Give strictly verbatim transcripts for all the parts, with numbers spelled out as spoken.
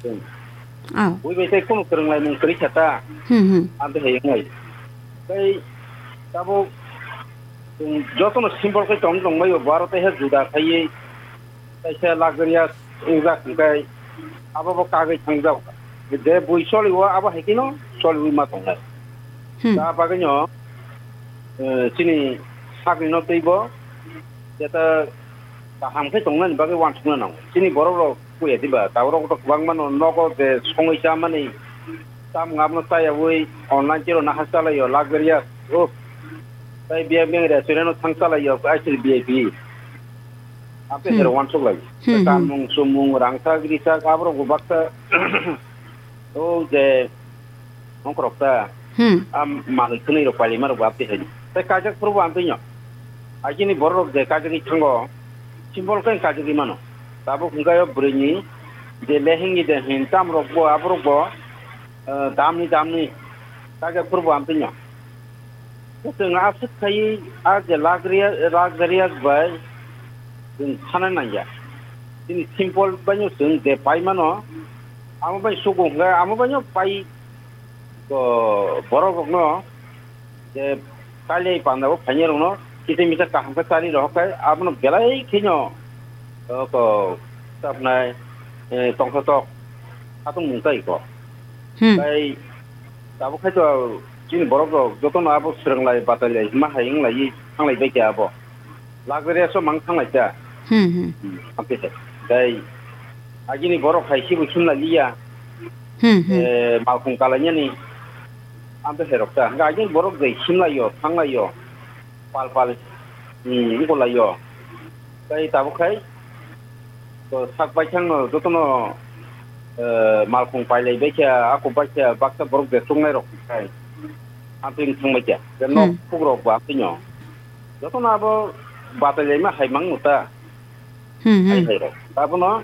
Oh. Bui bai tei kunu kwrwnglaimung kwrwi kha ta. Hmm, hmm. Amtwi hai wngnai. Tei tabuk chwng jotono simple khe tong tongbaio, bo aro tei he juda khaiwi kaisa luxurious wngjak hwnkhe abo bo kagwi thangjak. Je bui choliwo abo hai kheno choliwi ma tongnai. Hmm. Ta bagwino, eh, chini sakni no twibo jeta kaham khe tongnani bagwi uansukna nango. Chini borok rok puya diba, tabuk rok to kwbangma no nogo je songwi chamani, chamung abono chayawi online tiro naha chalaio, luxurious, oh, tei biyang biyang restaurant o thang chalaio, aisiri V I P. Ape Hmm. hero uansuk lai. Hmm, hmm. Kamung, sumung, rangchak, richak, aborok bo baksa, oh, je, ongkorok ta. Hmm. Am manwi khwnwi rok pailima rok bo apte hai. Tei kajak phuru bo amtwi no. Agini borok rok je kajagwi thango, simple khe kajagwi mano. Tabuk hwnkhe o bwrwini je lehengni de hin tam rok bo aborok bo, eh, damni damni kajak phuru bo amtwi no. Chwng aswk khaiwi a je luxurious, luxurious bai chwng thana nangya. Chini simple baino chwng je pai mano, amo bai sugo hwnkhe amo baino pai, o, borok rokno je kailai panda o phainai rokno kisa misa kaham khe chari rohor khai abono belai kheno, o, ko, tabnai, eh, tongthotok khatung mung tai ko. Hmm. Tai tabuk khai to chini borok rok jotono abo swrwng lai, batai lai, ma hai wng lai, thang lai bai khe abo. Luxury so mang thang lai ta. Hmm, hmm. Hmm, amte se. Tai agini borok hai sibu sim lai liya. Hmm, hmm. Eh, malkhung kalainani. Amte se rok ta. Hwnkhe agini borok jai sim lai yo, thang lai yo. Pal pal, hmm, wng lai yo. Tai tabuk khai, to sak baithang no jotono, eh, malkhung pailai bai kha, ako bai kha, baksa borok je chungnai rok khai. Amtwi wng thang bai kha. Je nok Hmm. phuk rok bo amtwi no. Jotono abo batai lai ma hai mang no ta. Hmm, hmm. Hai hai rok. Abono,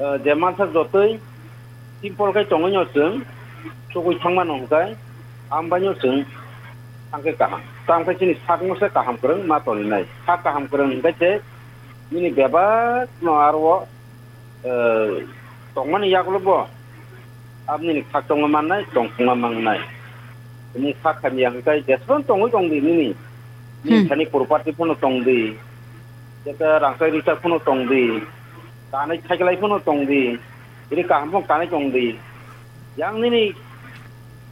eh, je mansa jotoi simple khai tongwi no chwng, sugwi thang mano hwnkhe, ambai no chwng thang khe kaham. Tamo khe chini sak no se kaham kwrwng ma toni nai. Sak kaham kwrwng hwnkhe se nini bebak no aro, eh, tongmani yagulo bo aboni ni khak tongma mannai, tongthokma mannai. Nini khak hamya hwnkhe jeswk tongwi tongdi nini. Nini Hmm. thani property phano tongdi. Jeta rangchak richak phano tongdi. Kanai thaiglai phano tongdi. Iri kaham phano kanai tongdi. Yang nini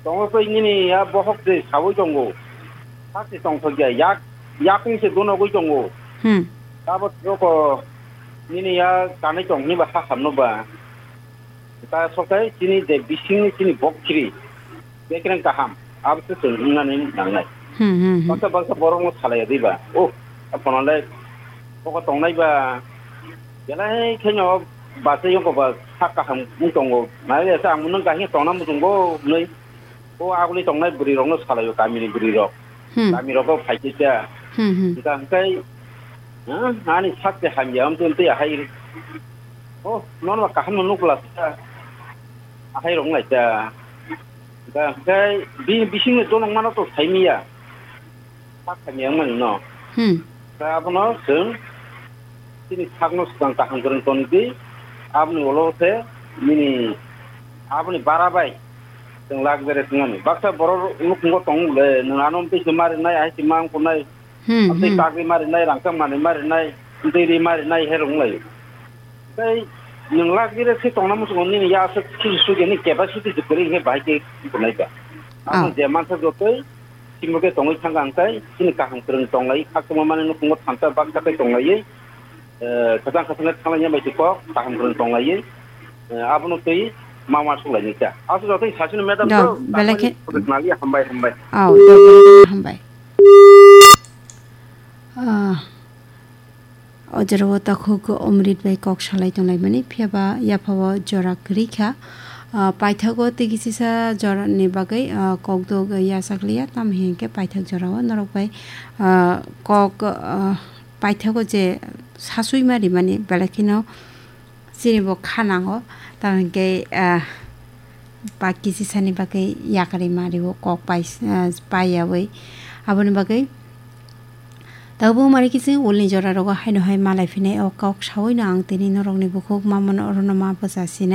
tongwi phai nini ya bohok de sawi tongo. Sakse tongthokya yak, yakung se donogwi tongo. Hmm. Abo joko nini ya kanai tong hwnba ha hamno ba. Ta sokai chini je bisingni chini bokchiri, bekreng kaham, abo se chwng wngnani nangnai. Hmm, hmm, hmm. Baksa baksa borokno salaiya diba? Oh, aphano le bokol tongnai ba, belai kheno bachai yongko ba sak kaham wng tongo. Nai le sa ang nwng kahino tongna muchungo hwnwi. O aguli tongnai bwrwi rokno salaio kamini bwrwi rok. Hmm. Kami rogo phaikhe cha. Hmm, hmm. Hwnkha hwnkhe, ha, ani sakte hamya wngtwi wngtwi ahai. Oh, nono kaham no nukla cha. Ahai rok nai cha. Hwnkha hwnkhe bini bisingni donok mano to saimiya. Sak hamya wngmani no. Hmm. Ta abono chwng chini sakno swkang kaham kwrwng toni di, aboni ulo se nini aboni bara bai chwng lak bere thwngmani. Baksa borok nukhungo tong le, nwng ano twi se marinai, hai se mang kunai, hmm, tei hmm, chakri marinai, rangchak manwi marinai, tei ri marinai, herok wng lai. Tei nwng lak bere se tongna muchungo nini ya aswk sugi sugi ni capacity se kwrwi khe bahai khe kunai ba. Abo, ah, je mansa jotoi Timo khe tongwi thangkha hwnkhe chini kaham kwrwng tonglai, khakchangma mani nukhungo thansa baksa khe tonglaiwi, eh, khachang khachang khe thanglaina bai se kok kaham kwrwng tonglaiwi, eh, abono twi ma uansuk lainai kha. Aswk jotono sasino madam. Dok, to belai khe. Hambai, hambai. Oh, dok, belai khe hambai. Ah. O jorao takhuk Omrit bai kok salai tonglaimani, phiya ba yaphao jora kwrwi kha. Ah, paithago tei kisisa jorani bagwi, ah, kokdok yachak liya, tamo hinkhe paithak jorao norok bai, ah, kok, ah, paithago je sasui ma rimani, belai kheno chini bo kha nango, tamo hinkhe, ah, ba kisisani bagwi yakarwi ma rio, kok pai, ah, paiyawi. Aboni bagwi tabuk mari kisi ulni jora rogo haino hai malai phinai o kok sawi no ang tini norokni bukhuk mamano orono ma bwsa sinai.